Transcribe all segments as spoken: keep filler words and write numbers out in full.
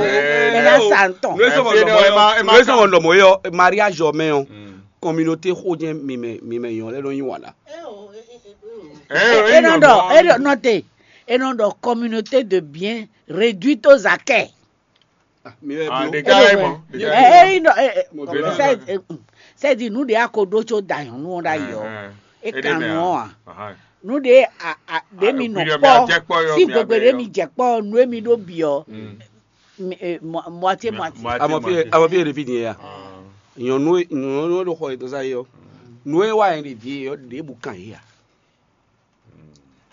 Ena sa ntɔn. Nú é sɔmɔ lɔmɔ yɔ, nú é sɔmɔ lɔmɔ yɔ, mariage ɔ mɛ ɔ, communauté xó jɛn mi mɛ mi mɛ yɔn lɛ nɔ nyi wala. E nɔ ɖɔ, e nɔ te, e nɔ ɖɔ communauté de biens réduite aux acquêts. Mi lɛ Ah, blo. Des gars, hein, bon, des gars. Eh, eh, non, eh, eh, Mo blo. C'est, eh, mm, c'est-à-dire, nous, des accords d'ocho d'ailleurs, nous, on d'ailleurs. Eh, eh. Et Et quand des nous, mères. Ah, ah. Nous, des, ah, ah, des Ah, mi non puis, pas. Mais à Jack Paul, Si mais à vous voulez, Jack mi Jack Paul, nous, mi do bio. Mm. Mi-, eh, mo-, moitié, moitié. Moitié, Ama fi, moitié. Ama fi e ɖevi din ya. Ah. Nyɔnu, nyɔnu ɖo xɔ yětɔn sa yɔ. Nú é wá yɛ ɖevi yɔ ɖěbǔ kan yě ya.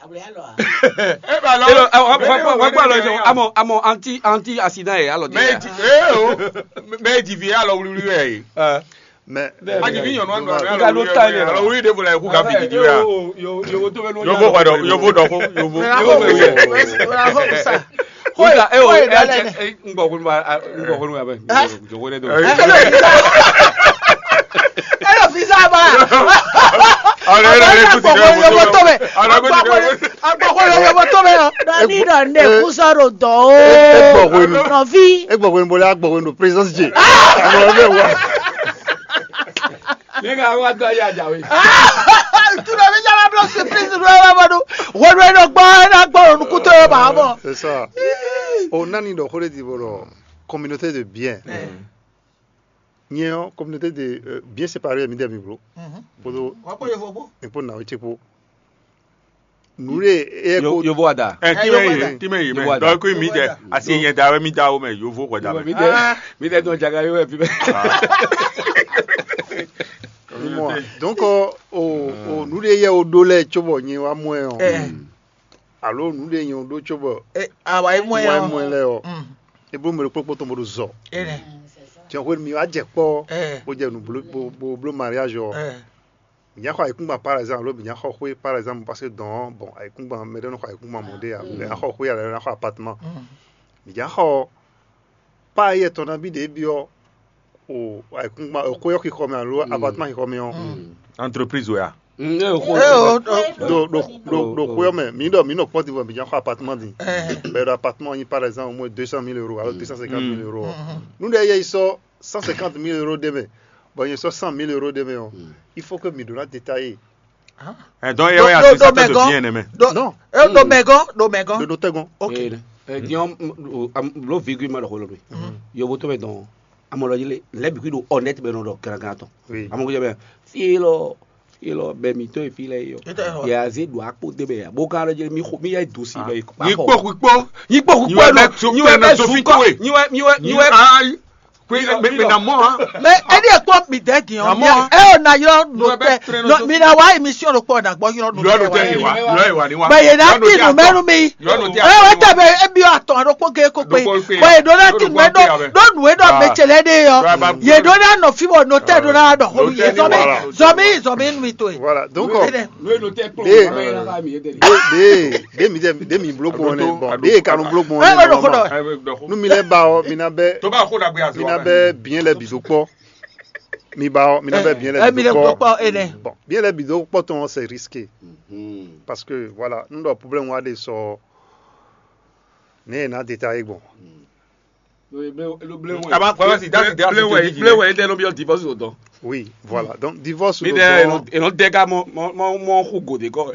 Abúlé alɔ a? Eh ben alors, Elo, awo, awo, awo, awo, awo, awo, amɔ, amɔ, anti, anti accident yɛ alɔ mais di. Eh oh, mais divi alɔ wluwlu yɛ. Mais a divi nyɔnu anu Nga ló ta yɛ. Alɔ wluwlu de bo la ku ga fi di di wa. Yo, yo, yo, to bɛ no. Yo bo kɔdɔ, yo bo dɔ ko, yo bo. Yo bo. Kódà, ẹ o, ẹ jẹ, ẹ, n gbɔ kunu ba, n gbɔ kunu ba bɛ. Jɔ ko ne do. Ẹ lọ fi sa ba. Ọ̀rẹ́ rẹ̀ lè kú ti kẹ́ mọ́tò. Ọ̀rẹ́ kú ti kẹ́ mọ́tò. Agbɔkɔ yɔ yɔ mɔtɔ mɛ yan. Dɔni dɔ ne kusɔro dɔ o. Egbɔ hwenu. Nɔvi. Egbɔ hwenu bolo agbɔ hwenu présence je. Mo bɛ wa. Ne ka wa dɔ ya jawe. Tu dɔ mi jaba blo surprise dɔ wa bɔ do. Hwenu e dɔ gbɔ e na gbɔ nukuto yɔ ba mɔ. C'est ça. O nani dɔ xo de di bo dɔ communauté de bien. Nyɛ ɔ́, communauté de bien séparé mi dɛ mi blo. Kpódó Wá kpó yevo kpó. Kpó nǎwe ce kpó. Nǔɖé é Yo- ko Yovo ada. Ɛ Eh, kí mɛ Yovo yìí da. Kí mɛ yìí Yovo mɛ ada. Dɔw kó mi dɛ Yovo asi yẹn da wɛ mi da wo mɛ Yovo wɛ da mɛ. Mi dɛ mi dɛ dɔn jaga yóò wɛ fi mɛ. Mɔ donc o o nǔɖé yɛ o ɖó lɛ cóbɔ nyɛ wa mɔ ɛ ɔ. Alo nǔɖé nyɛ o ɖó cóbɔ Awa yi mɔ mɔ ɛ ya. Mɔ ɛ lɛ ɔ. E bó mɛ ɖo kpókpó tɔn bó ɖo zɔ. Ene. Tiɲɛ xwé mi wa jɛ kpɔ Eh. Bó jɛ nu blo bó blo mariage ɔ. Eh. Mǐ nya xɔ ayǐkúngban par exemple alo mǐ nya xɔ xwé par exemple parce que dɔn bon ayǐkúngban mɛ ɖé nɔ xɔ ayǐkúngban mɔ ɖé ya mɛ nya xɔ xwé ya lɛ ná xɔ appartement. Mǐ nya xɔ pa yɛ tɔn nabí ɖě byɔ́ o ayǐkúngban o xwé ɔ́ xixɔ mɛ alo appartement xixɔ mɛ ɔ́. Entreprise wɛ a? Ɖo ɖo ɖo ɖo xwé ɔ́ mɛ mǐ ɖɔ mǐ nɔ kpɔ́ din vɔ mǐ nya xɔ appartement din. Bɛ ɖo appartement ɔ́ nyi par exemple au moins deux cent mille euros alo deux cent cinquante mille euros. Nú ɖe yɛ yi sɔ́ cent cinquante mille euros ɖ'é mɛ, bɔ nyɛ sɔ́ cent mille euros ɖ'é mɛ ɔ́, il faut que mi ɖó ná détailler. Ɛ dɔn yɛ wɛ Do- do- do asisatɔ mɛ de gɔn. Bien aimé. Do- Non. E do mɛ gɔn do mɛ gɔn. Ɖo ɖo tɛ gɔn. Ok. Diɔn blo virgule ma ɖɔ xolo mi. Yovo to mɛ dɔn. Amɔ lɔ yile lɛ bi kui ɖo honnête mɛ nɔ ɖɔ grangan tɔn. Oui. Amɔ ko jɛ bɛ fi lɔ fi lɔ bɛ mi to fi lɛ yɔ. Yɛ aze do akpo de bɛ ya. Bo kan lɔ jɛ mi xo mi yɛ do si bɛ. Nyi kpó kú kpó. Nyi kpó kú kpó nɔ nyi wɛ bɛ zun kɔ. Nyi wɛ nyi wɛ nyi wɛ. Ayi. Kwe mɛ mɛ na mɔ ha. Mɛ ɛdi ekpɔ mi dɛ di ɔ. Amɔ. E o na yɔ no tɛ. Mi na wa émission ɖo kpɔ na gbɔ yɔ no tɛ wa. Yɔ no tɛ yi wa. Yɔ yi wa ni wa. Bɛ yɛ na ti nu mɛnu mi. Yɔ no tɛ. E wɛ tɛ bɛ e bi atɔ ɖo kpɔ ge ko pe. Bɛ yɛ do na ti nu mɛ do do nu e dɔ mɛ tsɛlɛ de yɔ. Yɛ do na nɔ fi bɔ no tɛ do na dɔ ko mi yɛ zɔmi zɔmi zɔmi nu mi to ye. Voilà donc. Ɖe ɖe ɖe ɖe mi ɖe mi blo gbɔn nɛ bɔn ɖe kanu blo gbɔn nɛ. Nú mi lɛ ba ɔ mi na bɛ mi na bɛ biɲɛ lɛ bi do kpɔ. Mi ba ɔ mi na bɛ biɲɛ lɛ bi do kpɔ. Bɔn biɲɛ lɛ bi do kpɔ tɔn c'est risqué. Parce que voilà n dɔ problème wa de sɔ ne yɛ na détaillé gbɔn. Kaba kaba si dasi dasi Blé wɛ, blé wɛ, ele nɔ byɔ divorce o dɔn. Oui, voilà. Donc divorce Mi ɖe eno eno dɛga mɔ mɔ mɔ mɔ xu gode kɔ.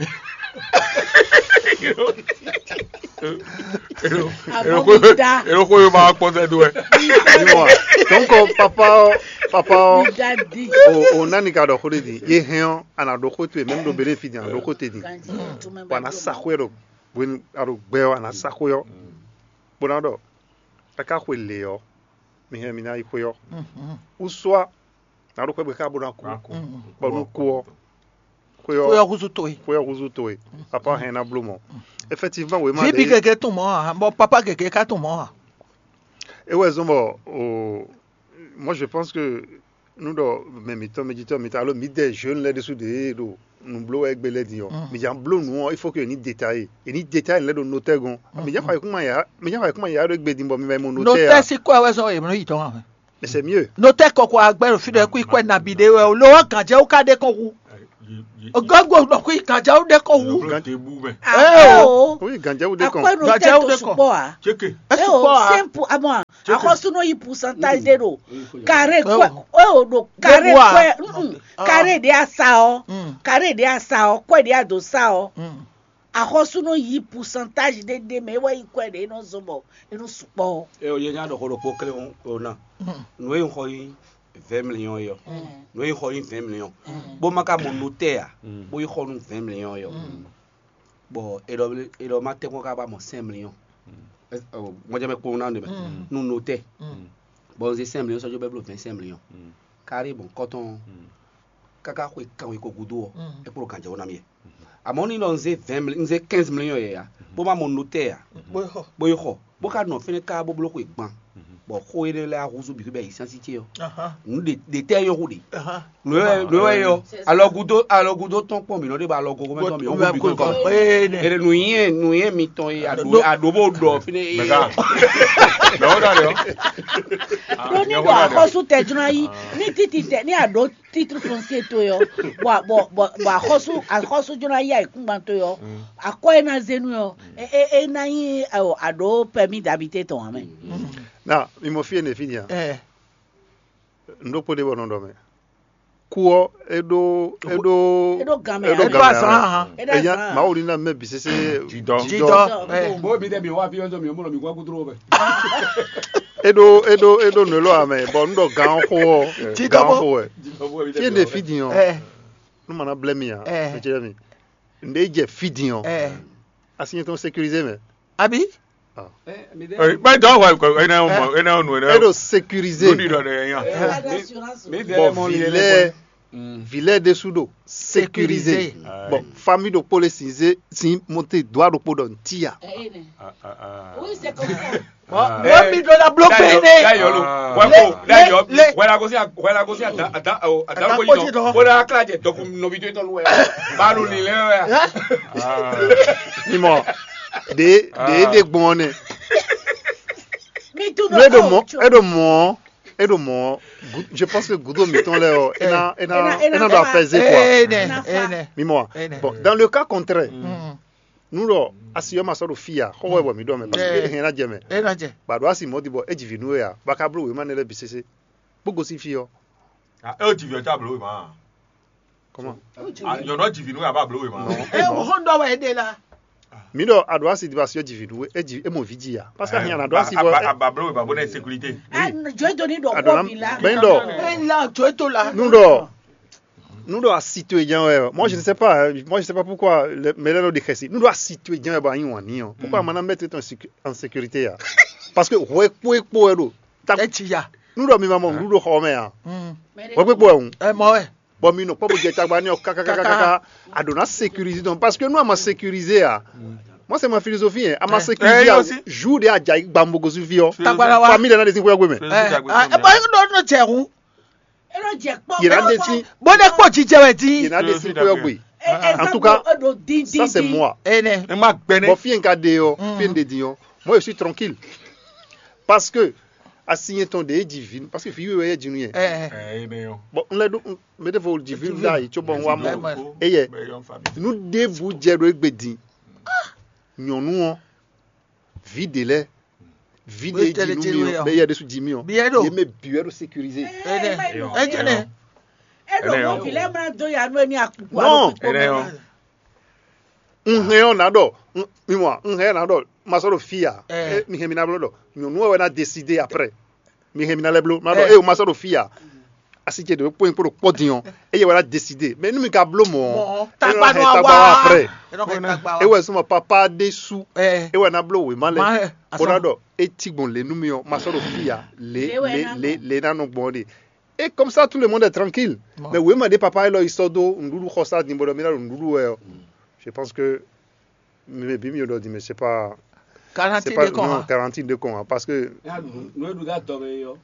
Eno xo eno xo yo ma kpɔ sɛ do wɛ. Donc papa papa o o nani ka dɔ xo de di. Ye hɛn o ana do xo to ye même do bénéfice ana do xo te di. Wa na sa xo do. Buen alo gbɛ o ana sa xo yo. Bona dɔ. Eka xwe lě ɔ́, mi hɛn mi ná yi xwé ɔ́. Ou soit nǎ ɖo xwé gbe xá bó ná kú. Bɔ nú kú ɔ́, xwé Xwe ɔ́ ɔ́ húzú towe. Xwé ɔ́ húzú towe. Papa hɛn ná bló mɔ. Effectivement wěma Vǐ bǐ gěgé tunwun mɔ̌ ǎ, bɔ papá gěgé ka tunwun mɔ̌ ǎ. É wɛ zɔ́n bɔ o moi je pense que nú ɖɔ mɛ mǐtɔn mɛ jitɔ́ mǐtɔn alo mǐdɛɛ jeune lɛ́ɛ ɖésú ɖě ɖo nǔ bló wɛ égbé lɛ́ɛ din ɔ́, mǐ jǎ bló nǔ ɔ́, il faut que yě ní détaillé. Yě ní détaillé lɛ́ɛ ɖo notɛ́ gɔ́n. Mǐ jǎ xɔ ayǐkúngban yǎ, mǐ jǎ xɔ ayǐkúngban yǎ ɖo égbé din bɔ mi ma yi mɔ notɛ́ Notɛ́ ǎ. Sí kɔ́ wɛ zɔ́n yě nɔ yi dɔn ǎ. Mais c'est mieux. Notɛ́ kɔkɔ agbɛ́ ɖo fí ɖɔ kú kwɛ nabí ɖé wɛ o, lo ɔ́ gǎnjɛwú ka ɖe kɔn hu. Gɔ́gbó ɖɔ kó yi gǎnjɛwú ɖé kɔ wú. Eo, oui, gǎnjɛwú ɖé kɔn. Akwɛ́ ɖo tɛ to sukpɔ́ a? Eo, sɛ́npu amɔ, axɔ́sú nɔ yi pourcentage ɖé ɖo carré kwɛ. Eo ɖo carré kwɛ. Carré ɖé a sa ɔ, carré ɖé a sa ɔ, kwɛ ɖé a do sa ɔ. Axɔ́sú nɔ yi pourcentage ɖé ɖé mɛ, é wɛ yi kwɛ ɖé é nɔ zɔn bɔ é nɔ sukpɔ́. Eo, yɛ nya ɖɔ xó ɖokpó klé o na. Nǔ e un xɔ yi vingt millions é ɔ́, nǔ e un xɔ yi vingt millions, bó ma ka mɔ notɛ́ ǎ, bó yi xɔ nú vingt millions é ɔ́, bɔ è ɖɔ è ɖɔ ma tɛ́nkpɔ́n ka ba mɔ cinq millions. Mɔjɛmɛ kpowun ná ɖe mɛ nú notɛ́, bɔ un zé cinq millions sɔ́ jó bɛ́ bló vingt cinq millions. Kárí bɔn kɔ́tɔn káká xwe kanwe ko gúdo ɔ́, é kpló gǎnjɛwú ná mì. Amɔ̌ ní nɔ un zé vingt millions, un zé quinze millions yɛ ya, bó ma mɔ notɛ́ ǎ, bó yi xɔ, bó ka nɔ fɛ́nɛ ká bó bló xwe gban, bɔ xó énɛ́ lɛ́ɛ húzú bǐ xwé bɔ ayǐsánsí ce ɔ́, nǔ ɖe ɖe tɛ́ nyɔ́ xú ɖe. Nǔ e nú e ɔ́, alɔgúdó alɔgúdó tɔn kpɔn mǐ nɔ ɖe bɔ alɔgógó mɛ tɔn mǐ ɔ́ bó bǐ kɔn. Ére nǔnyɛ nǔnyɛ mitɔn e aɖǒ aɖǒ bó ɖɔ fínɛ́ é. Mɛ̌ ká? Mɛ̌ wó ɖɔ ɖe ɔ́? Ɖó ní ɖo axɔ́sú tɛ jló ná yí ní títí tɛ ní aɖǒ títú fɔnsé to yɔ, bɔ bɔ bɔ bɔ axɔ́sú axɔ́sú jló ná yí ayǐkúngban to yɔ, akɔ e ná zé nú yɔ, é é é ná nyí aɖǒ pɛmí dabité tɔn ǎ mɛ. Na mi mɔ fí e nɛ fí nya. Ɛ Un ɖó kpó ɖé bɔ nɔ ɖɔ mɛ. Kú ɔ́, é ɖó é ɖó É ɖó gan mɛ é ɖó ǎ. É ɖó gan mɛ azɔn ǎ. Ahan. É ɖó Enya azɔn ǎ. Mawu ní ná mɛ bǐ sésé Jidɔ. Jidɔ. Jidɔ. Ɛ. Bó mi ɖe mi wá fí ɔ́ mi mɔ mi kú gúdúró bɛ. É ɖó é ɖó é ɖó nǔ élɔ́ ǎ mɛ, bɔ un ɖɔ gan ɔ́ xó ɔ́, Jidɔ gan ɔ́ bó. Xó wɛ. Jidɔ bó mi ɖe Fí e mi ɖe wá fí din ɔ́, Ɛ. Nú ma ná blɛ́ mi ǎ. Ɛ. Mɛ ce mi. Un ɖe jɛ fí din ɔ́. Ɛ. Asi nyɛ tɔn sécurisé mɛ. Abi? Ɛ, mi ɖe Ɛ, bɛ dɔ wa ko ena o mo ena o nu ena. Eɖo sécurisé. Lódì lɔ ɖe yan. Ɛ, mi- mi ɖe Bon, mɔ li lɛ vilain, vilain ɖésú ɖo sécurisé. Sécurisé. Bon, famille ɖokpó lé sin zé sin monté doigt ɖokpó ɖɔ ntí ya. Ɛ, ɛ, nɛ. Ah, ah, ah. Oui, c'est comme ça. Bon, Ah. Wọ́n mi ɖó ná bló pé Dayọ̀, né. Dayọ̀ lo. Ah. Wọ́n kò Lé- Dayọ̀ lé- wẹ́n la gosí wẹ́n la gosí àdá àdá o àdá Àdá kò yìí kò yìí yìí dán. Dán. Wọ́n la kílà jẹ dɔkun nɔbi tó tɔnu wẹ̀. Báwo ni lẹ́ wẹ̀? Mimɔ, ɖe ɖe Ah. Ɖe gbɔn nɛ. Mi tu Nú eɖo mɔ eɖo mɔ eɖo mɔ gu- je pense que gudo mitɔn lɛ ɔ ena ena Ena- ena ena ɖo apɛze quoi. Ene, Nafa. Ene. Mimɔ. Ene. Bon, dans le cas contraire, Mm. Nú ɖɔ asi ɔ́ ma sɔ́ ɖo fí a, xɔ wɛ bɔ mǐ ɖɔ mɛ, parce que Eh. Ehɛn ná jɛ mɛ. Ena jɛ. Ba ɖo asi mɔdi bɔ e ji vǐ nú we a, ba ka bló wěma nɛ lɛ́ɛ bǐ sésé, bó gosín fí ɔ́. Ah, e o ji vǐ ɔ́ ca bló wěma. Comment? Ah, nyɔ̌nu ɔ́ ji vǐ nú we a ba bló wěma. Non. E o hɔn dɔ wɛ ɖe la. Mǐ ɖɔ a ɖo asi di ba asi ɔ́ ji vǐ nú we, e ji e mɔ vǐ ji a, parce que ahinya na ɖo asi bɔ a ba bló wěma bó nɛ sécurité. Ah, jɔ do ni ɖɔ a ɖo kɔ na bi la. Bɛn ɖɔ Bɛn la jɔ to la. Nú ɖɔ Nú ɖɔ asi towe jɛ́n wɛ ɔ, moi je ne sais pas, hein, moi je sais pas pourquoi le- mɛ lɛ́ɛ nɔ ɖe xɛsi. Nú ɖɔ asi towe jɛ́n wɛ bɔ a yí wǎn n'i ɔ́, pourquoi a ma ná mettre tɔn en sécu- en sécurité ya? Parce que hwɛ kpo e kpo wɛ ɖo ta. Eci ya. Nú ɖɔ mi ma mɔ nǔɖuɖu xɔ mɛ a? Hwɛ kpo e kpo wɛ hǔn. Ɛ mɔ wɛ. Bɔ mi nɔ kpɔ bo jɛ tagba n'i ɔ́ kakakakaka. A ɖo ná sécuriser tɔn parce que nú a ma sécuriser a, moi c'est ma philosophie hein, a ma sécuriser a, jour de a jɛ ayi gbambo gosu fi ɔ. Tagba la wa. Famille de na de si xwɛ gbe mɛ. Ɛ ɛ bɔ e nɔ nɔ jɛ hun. Yě ná ɖe sí. Bó ɖe kpó jijɛ wɛ dín. Yě ná ɖe sí xwé ɔ́ gbe. En tout cas, ça c'est moi. Ene. Ẹ má gbẹ ní. Bɔ fí yẹn ka ɖe ɔ, fí yẹn ɖe din ɔ, moi je suis tranquille. Parce que asi yẹn tɔn ɖe é ji vi, parce que vi wíwɛ yɛ jinu yɛ. Ɛ ɛ. Ẹ ẹ nẹ yọ. Bon, n lɛ ɖo, n mɛ ɖe fo ji vi ɖa yi tso bɔ n wa mɔ. Ɛ mɔ. Eyɛ, nu ɖe bu jɛ ɖo egbe din. Nyɔnu ɔ, vi ɖe lɛ, vi ɖe ji nu mi ɔ, bɛ yɛ ɖe su ji mi ɔ, yɛ mɛ bi wɛ ɖo sécurisé. Ene. Ejene. Eɖo mɔ vi lɛ mla do ya nu emi akuku alo kpikpo mɛ. Un hɛn ɔ na ɖɔ, mi mɔ, un hɛn na ɖɔ, ma sɔ ɖo fi ya. Mi hɛn mi na blɔ ɖɔ nyɔnu wɛ na décider après. Mi hɛn mi na lɛ bló na ɖɔ, e o ma sɔ ɖo fi ya. Asi ce ɖe kpó kpó ɖo kpɔ din ɔ, eye wɛ la décidé. Mais nu mi ka bló mɔ ɔ, e nɔ hɛn tagba wa après. E wɛ sɔmɔ papa ɖe su, e wɛ na bló wema lɛ. Bó na ɖɔ e ti gbɔn le nu mi ɔ, ma sɔ ɖo fi ya, le le le le na nɔ gbɔn ɖe. Et comme ça tout le monde est tranquille. Mais wema ɖe papa élɔ yi sɔ dó nuɖuɖu xɔ sa din bɔ ɖɔ mi na ɖo nuɖuɖu wɛ ɔ. Je pense que mi mɛ bi mi ɖɔ din, mais c'est pas Quarantine de con. Non, quarantine de con, parce que Nú eɖu dá dɔmɛ yɔ.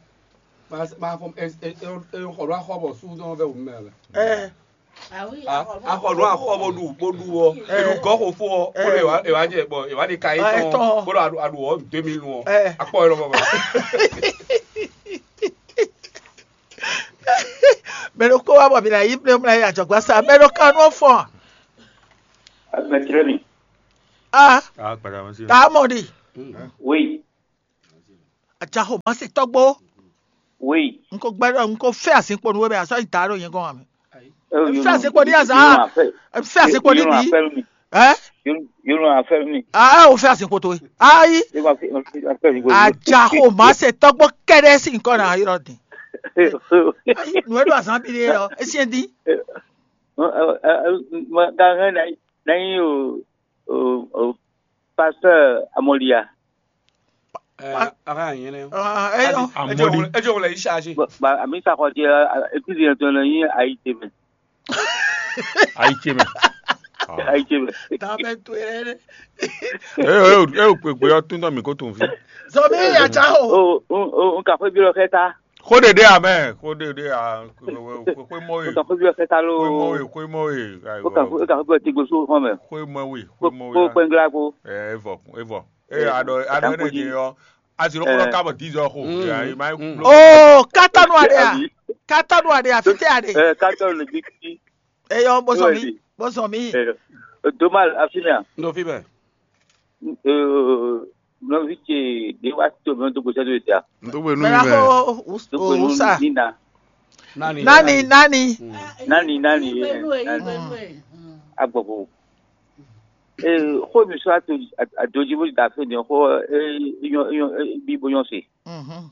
Ma fɔ e xɔ ɖo axɔ bɔ su dɔn vɛ wumɛ lɛ. Ɛ. Axɔ ɖo axɔ bɔ ɖu bɔ ɖu wɔ. Eɖu gɔ xo fo ɔ. Bɔ ɖe wa ewa jɛ bɔ ewa de ka yi tɔn. Bɔ ɖo aɖu wɔ deux mille wɔ. Akpɔ yɔrɔ bɔ. Mɛ ɖokpó wá bɔ mǐ ná yí mlɛ́ mlɛ́ yi ajɔ̌gbásá. Mɛ ɖo kan nú ɔ́ fɔ́n a? Mɛtírɛ́ni. A, Ah, kpàdà wọn sí. Tá a mɔ ɖi. Oui. Ajaxo má se tɔ́gbó. Oui. N ko gbɛ́ ɖɔ n ko fɛ́ azinkpo nú we mɛ azɔ́ yi da ɖo nyɛ gɔ́n wǎ mɛ. Fɛ́ azinkpo ní azǎn. Fɛ́ azinkpo ní bǐ. Ɛ? Yónú afɛ́ mi. Aa, o fɛ́ azinkpo towe. Ayi. Yónú afɛ́ mi. Ajaxo má se tɔ́gbó kɛ́ɖɛ́ sín nyǐkɔ ná ylɔ́ din. Nǔ e ɖo azǎn bí ɖé ɔ́, é syɛ́n dín. Gangɛn ná nyí o o o pasteur Amɔlia. Ɛ, ara yẹn lɛ. Ɛ, ɛ, Amɔli. Ɛ jọ wọlé yìí ṣáṣe. Àmì sàkọjẹ. Église yẹn tó lọ yín ayíjẹ mẹ. Ayíjẹ mẹ. Ayíjẹ mẹ. Tábẹ́ tó yẹn lẹ. Ẹ ẹ ẹ ò pèpè ɔ́ tún tán mì kó tún fi. Zɔmi yàtsa o. O o o n kà fún ibi lọ kẹta. Kó ɖeɖe amɛ, kó ɖeɖe a, kó mɔ N ye, kà fún ibi lọ kẹta ló. Kó mɔ ye, kó mɔ ye. Ó kà fún ó kà fún ibi lọ ti gbèsò fún mẹ. Kó mɔ ye, kó mɔ Kó ye. Pẹngla kó. Ẹ ẹ vɔ ẹ vɔ. Ẹ aɖɔ aɖɔ ɛ nɛ jɛ yɔ. Aziro kɔnɔ ka bɔ dix heures xo. Mm. Ayi ma ye Mm. Kulo. Oh, katanu aɖe a? Abi. Katanu aɖe a? Fite aɖe. Ɛ katɔ le bi ti. Eyɔ bɔsɔn mi. Bɔsɔn mi. Ɛ domal afina. N ɖo fi bɛ. Ɛ nɔvi ce de wa to mi to gbèsè do ta. N tó gbé nú Mɛ mi la mɛ. Ko Dogbe nu usa. Nina. Nani. Nani nani. Mm. Nani nani. Agbɔgbɔ. Ee, xó mi sɔ́ ato adojí bó da fé din xó, ee, nyɔ nyɔ ee, bí bó nyɔ se. Mhm.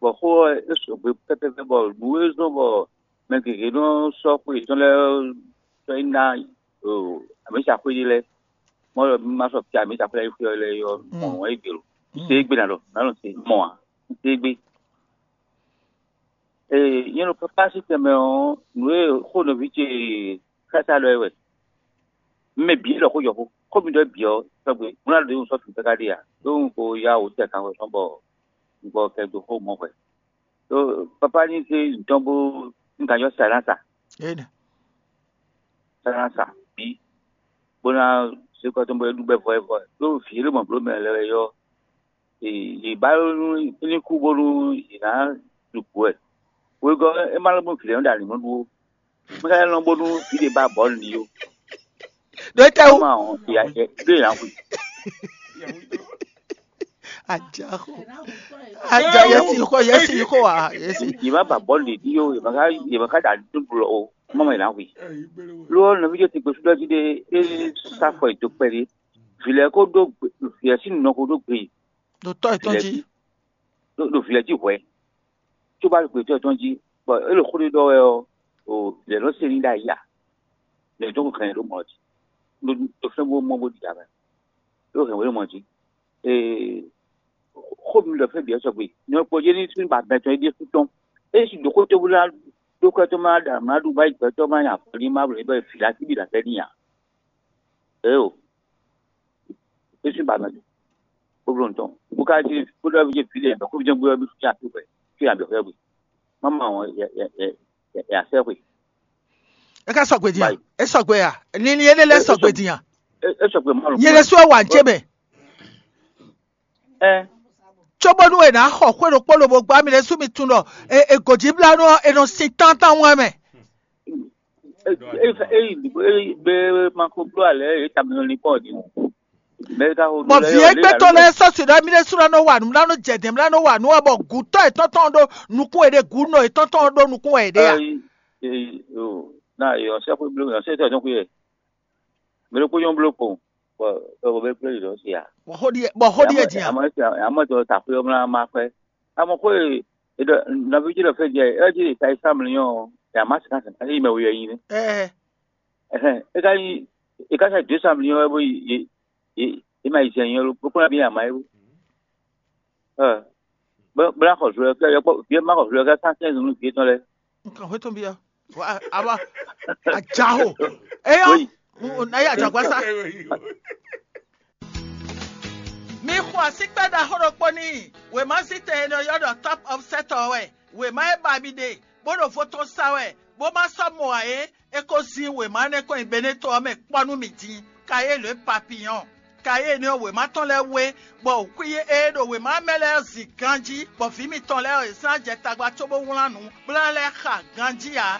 Bɔ xó ɔ́ é sɔgbe pɛ́pɛ́pɛ́ bɔ nǔ e zɔ́n bɔ mɛ gěgé nɔ sɔ́ xwe yětɔn lɛ́ɛ sɔ́ yi ná amǐsa xwé ɖé lɛ́ɛ. Mɔ̌ ɔ́, mi ma sɔ́ fia amǐsa xwé lɛ́ɛ yi xwé ɔ́ lɛ́ɛ ɔ́, mɔ̌ wɛ é gbe lo. Un se égbé ná ɖɔ, nǎ nɔ se mɔ ǎ. Un se égbé. Ee, nyɛ ɖo pápá sín tɛnmɛ ɔ́, nǔ e xó nɔví ce xása ɖɔ é wɛ. Mɛ bǐ é ɖɔ xó jɔ xó. Xó mi ɖɔ é bǐ ɔ́, tɔgbe, un ná ɖo sɔ́ fǐ káká ɖe ǎ. Ɖó un ko yá wǒ tɛ kan wɛ sɔ́ bɔ un gbɔ kɛ dó xó mɔ hwɛ. Ɖó pápá ní zé dɔn bó un ka nyɔ́ sa ná sa. Énɛ́. Sa ná sa bǐ. Bó ná zé kɔ tɔn bó é ɖu bɛ́ vɔ é vɔ. Ɖó vǐ e ɖo mɔ bló mɛ lɛ́ɛ wɛ yɔ. Yě ba nú ní kú bónú yě ná ɖu bǔ wɛ. Wegɔ́ é má lɔ́ bó vǐ lɛ́ɛ nɔ ɖo alǐnmɔ ɖu ó. Mɛ ka lɛ́ lɔn bónú vǐ ɖé ba bɔ̌ nǔ ɖi ó. Ɖó é tɛ́ wú. Má ɔ́, yě ɖó yě ná hu. Ajaxo. Aja yɛsi xɔ yɛsi xɔ wa yɛsi. Yě má ba bɔ̌ nǔ ɖi ó, yě má ka yě má ka ɖo alǐnmɔ ɖu lɔ ó. Má mɔ yě ná hu. Ló ɔ́, nɔví jɔ ti gbèsúdɔ jí ɖé é sá fɔ yě dó kpɛɖé. Vǐ lɛ́ɛ kó ɖó gbe, vǐ lɛ́ɛ sín nɔ kó ɖó gbe. Ɖo tɔ́ yětɔn jí. Ɖo ɖo vǐ lɛ́ɛ jí hwɛ̌. Có ba ɖo gbětɔ́ yětɔn jí, bɔ é ɖo xó ɖé ɖɔ wɛ ɔ́, o vǐ lɛ́ɛ nɔ se ní ɖ'ayǐ ǎ. Lɛ̌ dɔn hɛn ɖó mɔ jí. Ɖo ɖo fɛ́n bó mɔ bó ɖi ǎ mɛ. Ɖó hɛn wě mɔ jí. Ee, xó mi ɖɔ fɛ́n bǐ ɔ́ sɔgbe. Nyɔ kpɔ́ jé ní sín ba mɛ tɔn é ɖésú tɔn. É si ɖǒ xó tó bó ná ɖó kɛ́ tó má ɖa má ɖu má yi gbɛtɔ́ má nya avɔ ní má blǒ bɔ vǐ lá síbí ɖo afɛ ní ǎ. Eo, é sín ba mɛ tɔn. Bó bló nǔ tɔn. Bó ka jí bó ɖɔ ví ce vǐ lɛ bɔ kó ví jɛ́n gbé ɔ́ bí fí afi hwɛ. Fí abǐ hwɛ gbe. Má ma wɔn yɛ yɛ yɛ yɛ yɛ asɛ hwe. É ká sɔgbe din a? Báyìí. É sɔgbe a? Linlin énɛ́ lɛ́ɛ É- é sɔgbe sɔgbe. din a? É é sɔgbe má lɔ. Nyɛ ɖésú ɔ́ wa n cé mɛ. Ɛ Cóbónú è nǎ xɔ xwé ɖokpó lobo gbá mi ɖésú mi tunwun ɖɔ è è gǒjíblánú ɔ́ è nɔ sin tántán wɛn mɛ. Ée ée ée be ma ko bló alɛ yě ta mi nɔ linkpɔ́n ɔ́ din o. Mɛ ka ho Bɔ vǐ égbé tɔn lɛ́ɛ sɔ́ si ɖɔ émí ɖésú ná nɔ wa nǔ, ná nɔ jɛ dɛ̌n, ná nɔ wa nǔ wɛ, bɔ gǔtɔ́ yětɔn tɔn ɖó nukún è ɖe, gǔ nɔ yětɔn tɔn ɖó nukún wɛ è ɖe a? Ná yɔ sɛ́xwé bló yɔ sɛ́ tɔn xwé yɛ. Mɛ ɖokpó nyɔ́ bló kpowun, bɔ bɔ bɛ kplé yě ɖɔ si a. Bɔ xó ɖíe bɔ xó ɖíe din a? Amɔ si amɔ tɔ ta xwé ɔmla ma xwɛ. Amɔ xó e e ɖɔ nɔví jí ɖɔ fɛ jɛ ɛ jí ta yi sá mlí ɔ́, ya má sika sika yi mɛ wuyɔ yi nɛ. Ɛɛ. Ɛhɛn, e ka yi e ka sa dó sá mlí ɔ́ bó yi yi yi yi ma yi zɛ nyɛ lo, bó kplá bí ama yi bó. Ɛ bó bó ná xɔ zlɔ kɛ yɔkpɔ, bí ma xɔ zlɔ kɛ sán sɛn zun nú vǐ tɔn lɛ. Nkan xwé tɔn bia. Wa aba ajaho. Eyɔ. Oui. N- n- Na yi ajagba sa. Mi xɔ asikpɛ ɖaxó ɖokpó n'i. Wěma zítɛn e nɔ ylɔ́ ɖɔ Top of Set ɔ́ wɛ. Wěma e ba mi ɖe, bó ɖo vo tɔn sa wɛ, bó ma sɔ́ mɔ ǎ é, é ko zin wěma énɛ́ kɔn nyi Beneto ɔ́ mɛ kpɔ́ nú mi din. Kayé lě papillon. Kayé énɛ́ ɔ́, wěma tɔn lɛ́ɛ wé, bɔ xwí e ɖo wěma mɛ lɛ́ɛ ɔ́ zin ganjí, bɔ vǐ mitɔn lɛ́ɛ ɔ́, yě sɔ́ jɛ tagba cóbó wlán nǔ, bó ná lɛ́ xa ganjí ǎ.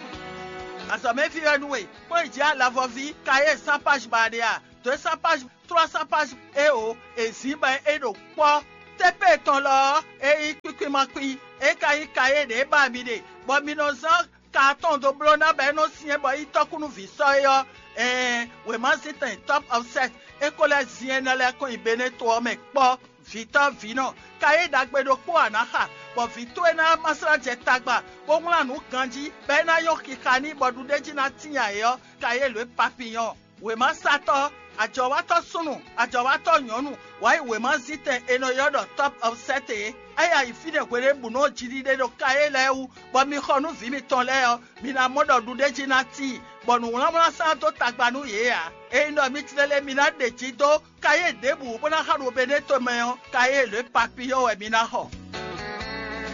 Azɔ̌mɛví wɛ nú we, kplɔ́n yi jǐ alavɔví, Kayé sán páj ba ɖe a? Dǒ e sán páj, tlɔ́ sán páj, éeǒ, è zǐn bɔ é ɖo kpɔ́. Tépé tɔn lɔ ɔ́, é nyí kwíkwí ma kwí, é ka nyí Kayé ɖě ba mi ɖe, bɔ mi nɔ zán ka atɔn dó bló ná bɔ é nɔ syɛ́n bɔ é nyí tɔ́kúnúví sɔ́ é ɔ́, ɛɛn, wěmazíntɛn Top of Set é ko lɛ́ zin énɛ́ lɛ́ɛ kɔn nyi Beneto ɔ́ mɛ kpɔ́. Vǐtɔ́ vǐnɔ, Kayé ɖagbe ɖokpó a nǎ xa, bɔ vǐ towe ná ma slá jɛ tagba, bó wlán nǔ ganjí, bɔ é ná nyɔ́ xixa n'i bɔ ɖuɖéjí ná tíin ǎ é ɔ́, Kayé lǒ e papiyɔ́n. Wěmasatɔ́, ajɔ̌watɔ́ súnnu, ajɔ̌watɔ́ nyɔ̌nu, wǎ yi wěmazíntɛn è nɔ ylɔ́ ɖɔ Top of Set é. É yi fínɛ́ hweɖěbǔnu ɔ́ jiɖiɖe ɖo Kayé lɛ́ɛ wú, bɔ mi xɔ nú vǐ mitɔn lɛ́ɛ ɔ́, mi ná mɔ ɖɔ ɖuɖéjí ná tíin, bɔ nǔwlánwlán sán dó tagba nú yě ǎ. Ényí ɖɔ mi tlɛ lé mi ná ɖe jí dó Kayé ɖěbǔ bó ná xa ɖo Beneto mɛ ɔ́, Kayé lǒ e papiyɔ́ wɛ mi ná xɔ.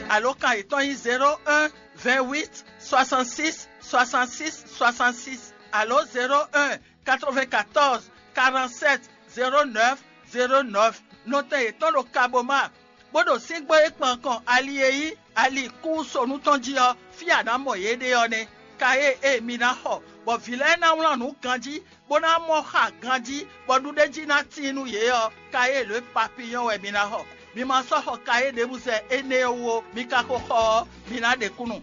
Alǒkan yětɔn nyí zéro un, vingt huit, soixante six, soixante six, soixante six, alǒ zéro un, quatre-vingt-quatorze, quarante-sept, zéro neuf, zéro neuf. Nɔtɛn yětɔn ɖo Kaboma, bó ɖo síngbó e kpan kɔn ali e nyí ali kúsonu tɔn jí ɔ́, fí a nǎ mɔ yě ɖe ɔ́ nɛ́. Kayé e mi ná xɔ, bɔ vǐ lɛ́ɛ ná wlán nǔ ganjí, bó ná mɔ xa ganjí, bɔ ɖuɖéjí ná tíin nú yě ɔ́, Kayé lǒ e papiyɔ́n wɛ mi ná xɔ. Mi ma sɔ́ xɔ Kayé ɖěbǔ zɛ énɛ́ ɔ́ wú ó, mi ka ko xɔ ɔ́, mi ná ɖe kúnnu.